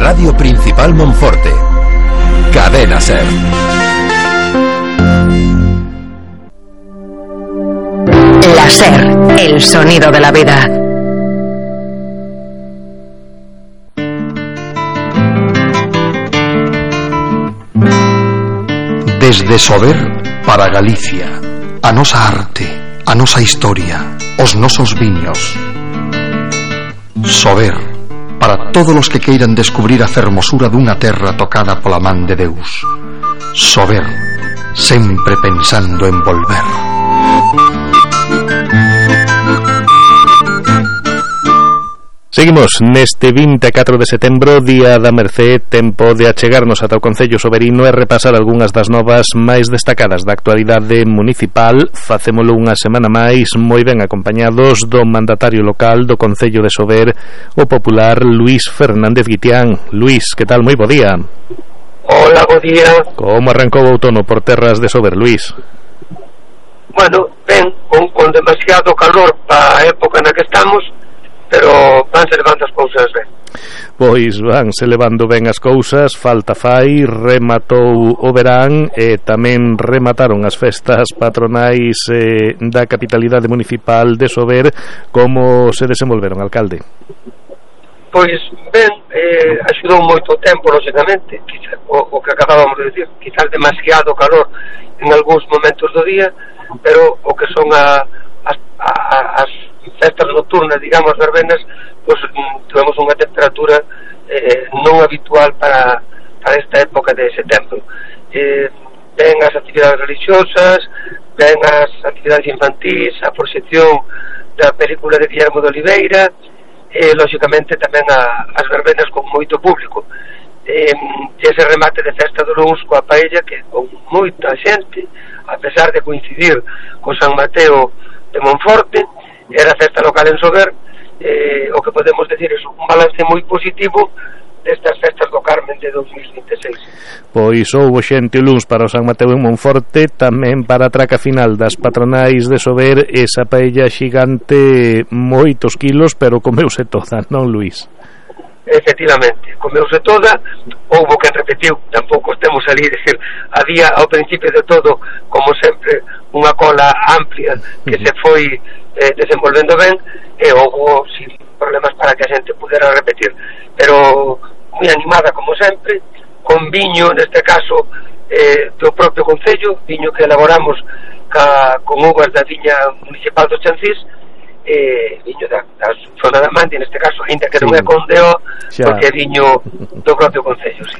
Radio Principal Monforte. Cadena SER. La SER, el sonido de la vida. Desde Sober para Galicia, a nosa arte, a nosa historia, os nosos viños. Sober, para todos os que queiran descubrir a fermosura dunha terra tocada pola man de Deus. Sober, sempre pensando en volver. Seguimos neste 24 de setembro, Día da Mercé, tempo de achegarnos ata o Concello Soberino e repasar algunhas das novas máis destacadas da actualidade municipal. Facémolo unha semana máis moi ben acompañados do mandatario local do Concello de Sober, o popular Luís Fernández Guitián. Luís, que tal? Moi bo día. Hola, bo día. Como arrancou o outono por terras de Sober, Luís? Bueno, ben, con demasiado calor para a época na que estamos, pero vanse levando as cousas ben. Pois vanse levando ben as cousas, falta fai, rematou o verán e tamén remataron as festas patronais da capitalidade municipal de Sober. Como se desenvolveron, alcalde? Pois ben, axudou moito o tempo, lógicamente, quizá, o que acabábamos de decir, quizás demasiado calor en algúns momentos do día, pero o que son as festas nocturnas, digamos, verbenas, pues tuvemos unha temperatura non habitual para esta época de setembro. Ven as actividades religiosas, ven as actividades infantís, a proxección da película de Guillermo de Oliveira, lógicamente tamén as verbenas con moito público. Ese remate de festa do luns coa paella, que con moita xente, a pesar de coincidir con San Mateo de Monforte, era a festa local en Sober. O que podemos decir é un balance moi positivo destas festas do Carmen de 2026. Pois houbo xente o luns para o San Mateo en Monforte, tamén para a traca final das patronais de Sober, esa paella xigante, moitos kilos, pero comeuse toda, non, Luís? Efectivamente, comeuse toda. Houbo quen repetiu, tampouco estemos ali, decir, había ao principio de todo, como sempre, unha cola amplia que se foi desenvolvendo ben, e houbo sin problemas para que a xente pudera repetir, pero moi animada como sempre, con viño, neste caso do propio Concello, viño que elaboramos con uvas da viña municipal dos Chancís, viño da zona da Mandi, neste caso, ainda que non é Condeo, porque é viño do propio Concello, sí.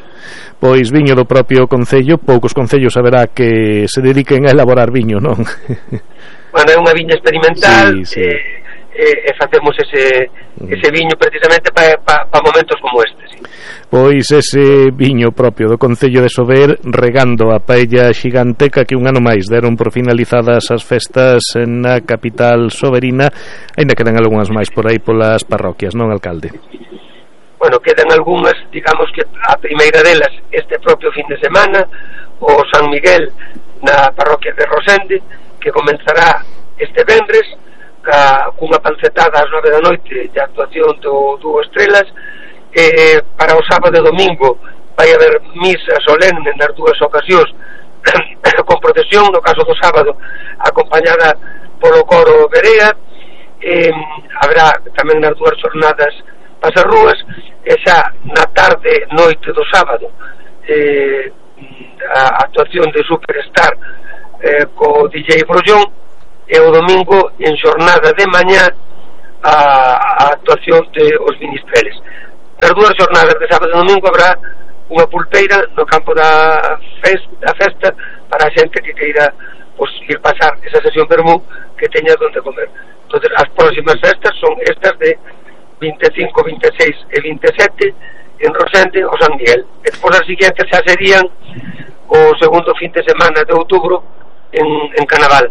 Pois viño do propio Concello, poucos concellos haberá que se dediquen a elaborar viño, non? Bueno, é unha viña experimental, sí. E facemos ese viño precisamente para momentos como este, sí. Pois ese viño propio do Concello de Sober, regando a paella xiganteca que un ano máis deron por finalizadas as festas na capital soberina. Ainda quedan algunhas máis por aí polas parroquias, non, alcalde? Bueno, quedan algunhas, digamos que a primeira delas este propio fin de semana, o San Miguel na parroquia de Rosende, que comenzará este vendres cunha pancetada ás 9 da noite de actuación do Dúo Estrelas. Para o sábado e domingo vai haber misa solene nas dúas ocasións con procesión, no caso do sábado acompañada polo coro Berea. Haberá tamén nas dúas jornadas pasarrúas, e xa na tarde noite do sábado a actuación de Superstar co DJ Brollón, e o domingo en xornada de mañá a actuación de os Ministreles. Nas dúas jornadas de sábado e domingo habrá unha pulpeira no campo da festa para a xente que queira ir pasar esa sesión vermú, que teña donde comer. Entonces as próximas festas son estas de 25, 26 e 27 en Rosende o San Miguel, e despois as siguientes xa serían o segundo fin de semana de outubro en Canaval,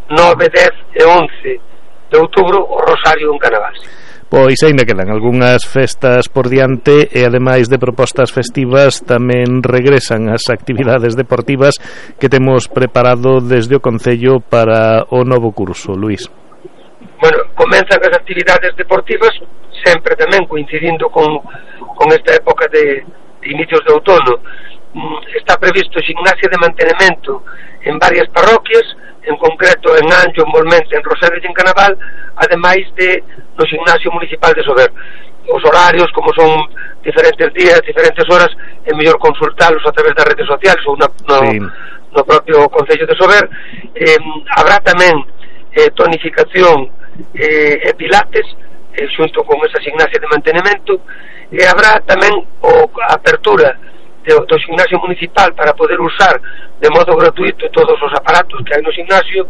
9, 10 e 11 de outubro o Rosario en Canaval. Pois ainda quedan algunhas festas por diante, e ademais de propostas festivas tamén regresan as actividades deportivas que temos preparado desde o Concello para o novo curso, Luís. comenzan as actividades deportivas sempre tamén coincidindo con esta época de inicios de outono. Está previsto gimnasia de mantenimento en varias parroquias, en concreto en Anxo, en Molmente, en Rosedo e en Canaval, ademais de no gimnasio municipal de Sober. Os horarios, como son diferentes días, diferentes horas, é mellor consultalos a través das redes sociales ou no propio Concello de Sober. Habrá tamén tonificación e pilates xunto con esa gimnasia de mantenimento, e habrá tamén a apertura do gimnasio municipal para poder usar de modo gratuito todos os aparatos que hai no gimnasio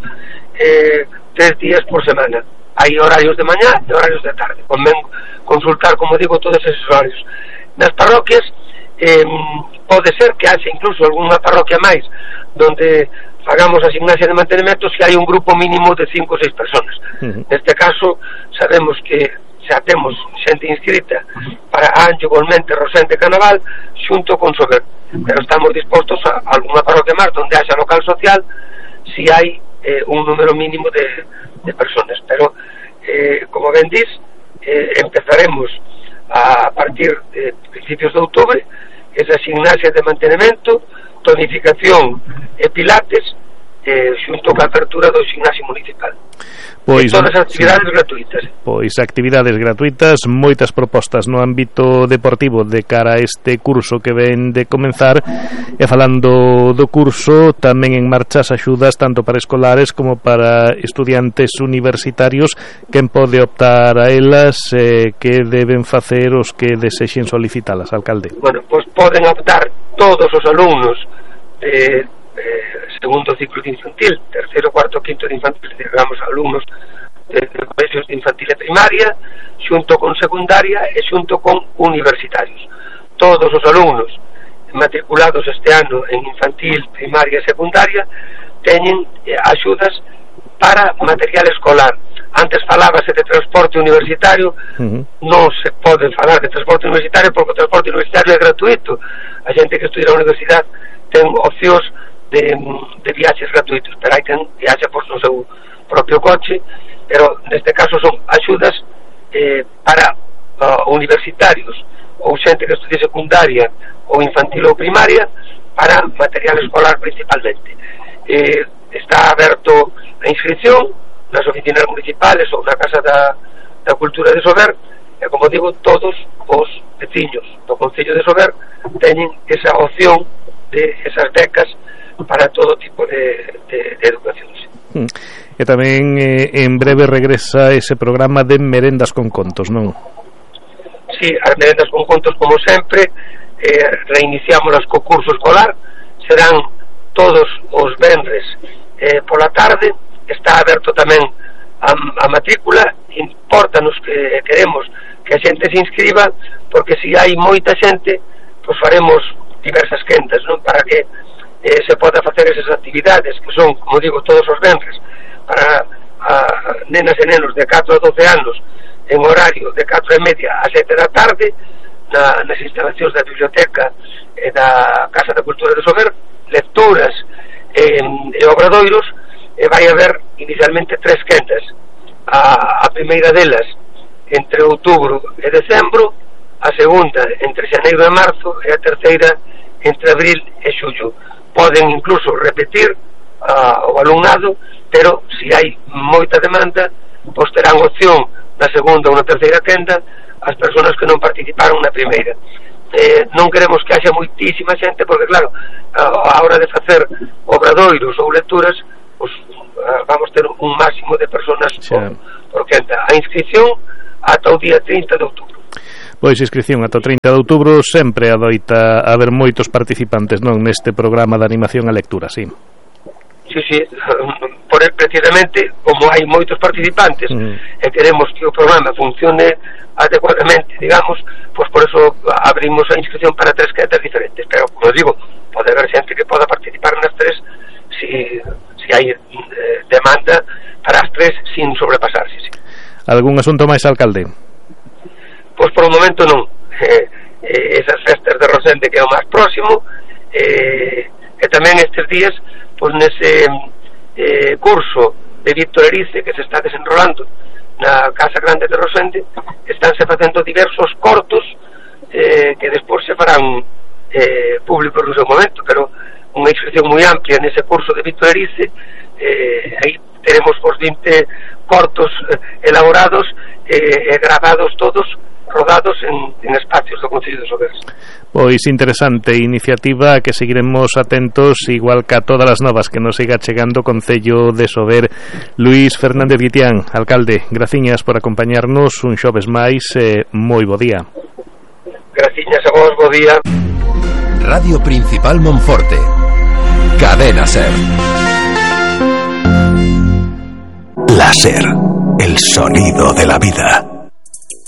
3 días por semana. Hai horarios de mañá e horarios de tarde. Convén consultar, como digo, todos esos horarios. Nas parroquias pode ser que haxa incluso algunha parroquia máis donde fagamos a gimnasia de mantenimento se hai un grupo mínimo de 5 ou 6 personas. Neste caso sabemos que xa temos xente inscrita para Anxo, Molmente, Rosende e Canaval xunto con Sober, pero estamos dispostos a alguna parroquia máis donde haxa local social si hai un número mínimo de personas, pero como ben dis, empezaremos a partir de principios de outubro esa gimnasia de mantenimento, tonificación e pilates xunto coa apertura do gimnasio municipal. Pois todas as actividades gratuitas. Pois actividades gratuitas, moitas propostas no ámbito deportivo de cara a este curso que ven de comenzar. E falando do curso, tamén en marcha as axudas tanto para escolares como para estudiantes universitarios. Quen pode optar a elas, que deben facer os que desexen solicitalas, alcalde? Pois poden optar todos os alumnos segundo ciclo de infantil, terceiro, cuarto, quinto de infantil, digamos, alumnos de colegios de infantil e primaria, xunto con secundaria e xunto con universitarios. Todos os alumnos matriculados este ano en infantil, primaria e secundaria teñen axudas para material escolar. Antes falábase de transporte universitario, non se pode falar de transporte universitario porque o transporte universitario é gratuito. A xente que estudia na universidade ten opcións de viaxes gratuitos, pero hai quen viaxa por no seu propio coche, pero neste caso son axudas para universitarios ou xente que estudie secundaria ou infantil ou primaria para material escolar principalmente. Está aberto a inscripción nas oficinas municipales ou na Casa da Cultura de Sober, e como digo, todos os veciños do Concello de Sober teñen esa opción de esas becas para todo tipo de educacións. E tamén en breve regresa ese programa de merendas con contos, non? Sí, as merendas con contos, como sempre, reiniciamos co curso escolar. Serán todos os venres pola tarde. Está aberto tamén a matrícula. Importanos que queremos que a xente se inscriba, porque se hai moita xente, pois faremos diversas quentas, non? Para que se poda facer esas actividades que son, como digo, todos os venres para nenas e nenos de 4 a 12 anos en horario de 4:30 a 7 da tarde nas instalacións da biblioteca e da Casa da Cultura de Sober, lecturas e obradoiros, e vai haber inicialmente 3 quentas. A primeira delas entre outubro e decembro, a segunda entre xaneiro e marzo e a terceira entre abril e xullo. Poden incluso repetir o alumnado, pero se hai moita demanda, pois terán opción na segunda ou na terceira quenda as persoas que non participaron na primeira. Non queremos que haxa moitísima xente, porque claro, a hora de facer obradoiros ou lecturas, pois vamos ter un máximo de persoas por quenda. A inscripción ata o día 30 de outubro. Pois inscripción ata o 30 de outubro. Sempre adoita haber moitos participantes, non, neste programa de animación a lectura, sí. Sí, precisamente como hai moitos participantes e queremos que o programa funcione adecuadamente, digamos, pois por eso abrimos a inscripción para 3 quentas diferentes, pero como digo, pode haber xente que poda participar nas 3 si hai demanda para as 3 sin sobrepasarse, sí. Algún asunto máis, alcalde? Pois por o momento non. Esas festas de Rosende que é o máis próximo, e tamén estes días, pois nese curso de Víctor Erice que se está desenrolando na Casa Grande de Rosende estánse facendo diversos cortos que despois se farán públicos no seu momento, pero unha inscripción moi amplia nese curso de Víctor Erice. Aí teremos os 20 cortos elaborados e gravados todos, rodados en espacios do Concello de Sober. Pois interesante iniciativa que seguiremos atentos, igual que a todas as novas que nos siga chegando o Concello de Sober. Luís Fernández Guitián, alcalde, graciñas por acompañarnos un xoves máis, moi bo día. Graciñas a vos, bo día. Radio Principal Monforte, Cadena SER. La SER, el sonido de la vida.